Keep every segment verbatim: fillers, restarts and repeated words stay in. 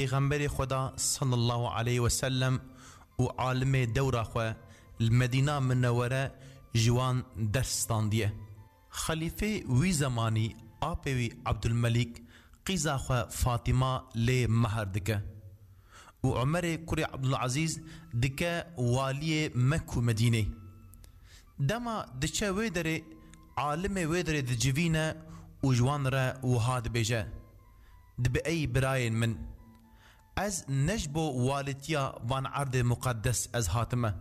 Pêxemberê Xweda sallallahu aleyhi ve sellem û alimê dewra xwe li Medîna Minewere ji wan ders standiye. Xelîfê wî zemanî apê wî Abdulmelîk qîza xwe Fatîma lê mehr dike û Umerê kurê Abdulazîz dike waliyê Mek û Medînê. Dema diçe wê derê, alimê wê derê dicivîne û ji wan re wiha dibêje: Dibe ey birayên min, ez ne ji bo walîtiya van erdê muqeddes ez hatime.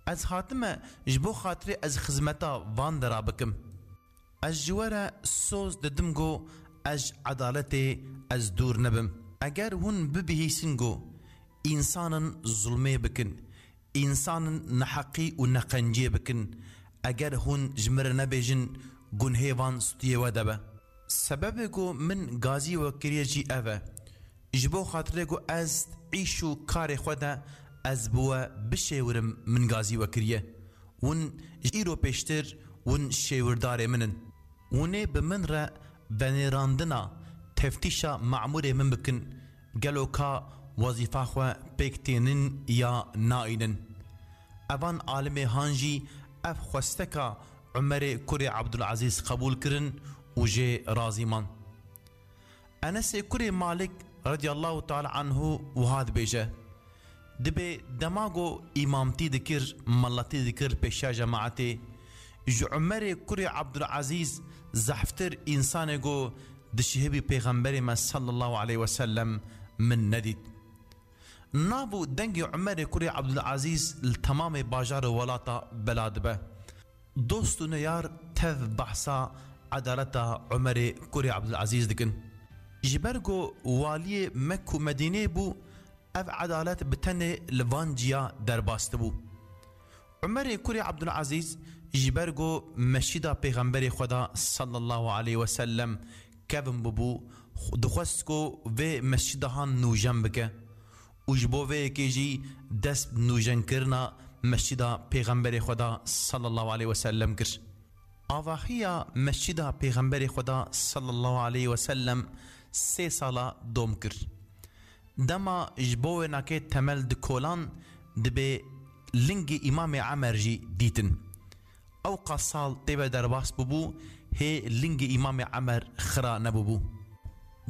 Ez hatime ji bo xatirê ez xizmeta van dera bikim. Ez ji we re soz didim ku ez ji edaletê ez dûr nebim. Eger hûn bibihîsin ku însanin zulmê bikin, însanin neheqî û neqenciyê bikin, eger hûn ji min re nebêjin, gunhê van stûyê we de be. Sebebê ku min gazî we kiriye jî ev e. Ji bo xatirê ku ez îş û karê xwe de ez bi we bişêwirim, min gazî we kiriye. Hûn ji îro pêştir hûn şêwirdarê min in. Hûn ê bi min re venêrandina teftîşa memûrê min bikin, gelo ka wezîfa xwe pêk tênin ya naînin. Evan alimê han jî ev xwesteka Umerê kurê Abdulazîz qebûl kirin û jê razî man. Enesê kurê Malik radiyallahu teala anhu wiha dibêje: Dibê dema ku îmamtî dikir, meletî dikir pêşiya cemaetê, ji Umerê kurê Abdulazîz zehftir însanê ku dişihibî Pêxemberê me sallallahu aleyhi ve sellem min nedît. Nav û dengê Umerê kurê Abdulazîz li temamê bajar û welata bela dibe. Dost û neyar tev behsa edaleta Umerê kurê Abdulazîz dikin. Ji ber ku waliyê Mek û Medînê bû, ev edalet bi tenê li van ciya derbas dibû. Umerê kurê Abdulazîz ji ber ku mescida Pêxemberê Xweda sallallahu aleyhi ve sellem kevin bûbû, dixwest ku vê mescida han nûjen bike û ji bo vê yekê jî dest bi nûjenkirina mescida Pêxemberê Xweda sallallahu aleyhi ve sellem kir. Avahiya mescida Pêxemberê Xweda sallallahu aleyhi ve sellem sê sala dom kir. Dema ji bo wênakê temel dikolan, dibê lingê Îmamê Emer jî dîtin. Ewqas sal tê ve derbas bûbû, hê lingê Îmamê Emer xira nebûbû.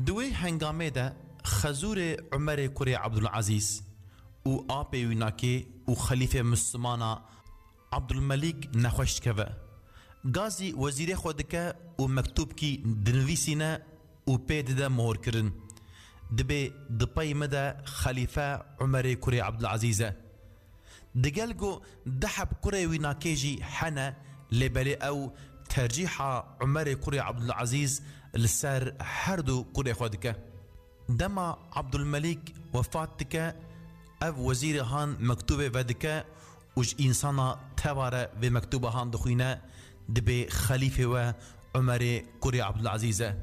Di wê hengamê de xezûrê Umerê kurê Abdulazîz û apê wînakê û xelîfê Mislimana Abdulmelîk nexweş dikeve. Gazî wezîrê xwe dike û mektûbkî dinivîsîne û pê dide mohorkirin. Dibê di pey me de xelîfe Umerê kurê Abdulazîz e. Digel ku du heb kurê wînakê jî hene, lê belê ew tercîha Umerê kurê Abdulazîz li ser her du kurê xwe dike. Dema Abdulmelîk wefat dike, ev wezîrê han mektûbê vedike û ji însana teva re vê mektûba han dixwîne, dibê xelîfê we Umerê kurê Abdulazîz e.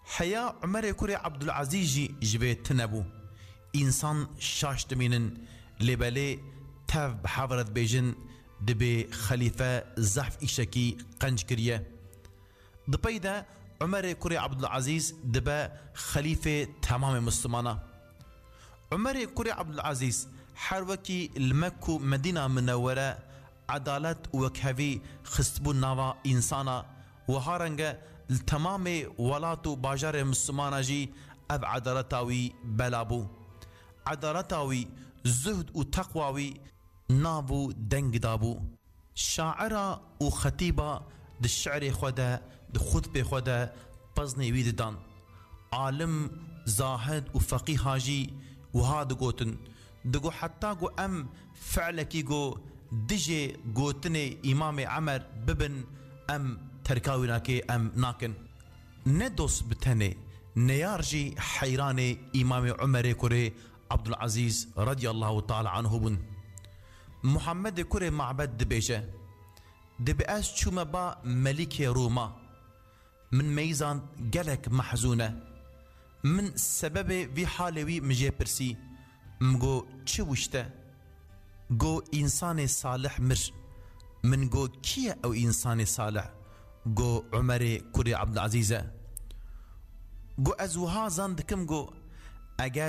Heya Umerê kurê Abdulazîz jî ji vê tune bû. Însan şaş dimînin, lê belê tev bi hev re dibêjin, dibê xelîfe zehf îşekî qenc kiriye. Di pey de Umerê kurê Abdulazîz dibe xelîfê temamê Mislimana. Umerê kurê Abdulazîz her wekî li Mek û Medîna Minewere edalet û wekhevî xistibû nava însana, wiha renge li temamê welat û bajarê Mislimana jî ev edaleta wî bela bû. Edaleta wî, zuhd û teqwa wî nav û deng dabû. Şaira û xetîba di şi'rê xwe de, di xutbê xwe de peznê wî didan. Alim, zahid û feqîha jî wiha digotin. Digo heta ku em fi'lekî ku dijê gotinê Îmamê Emer bibin, em terka wînakê em nakin. Ne dost bi tenê, neyar jî heyranê Îmamê Umerê kurê Abdulazîz radiyallahu teala anhu bûn. Muhammedê kurê Mabed dibêje: Dibe ez çûme ba melîkê Rûma. Min meyzand gelek mehzûn e. Min sebebê vî halê wî min jê pirsî. Min got, çi wişte? Got, însanê salih mir. Min got, kî ye ew însanê salih? Got, Umerê kurê Abdulazîz e. Got, ez wiha zan dikim, got, eger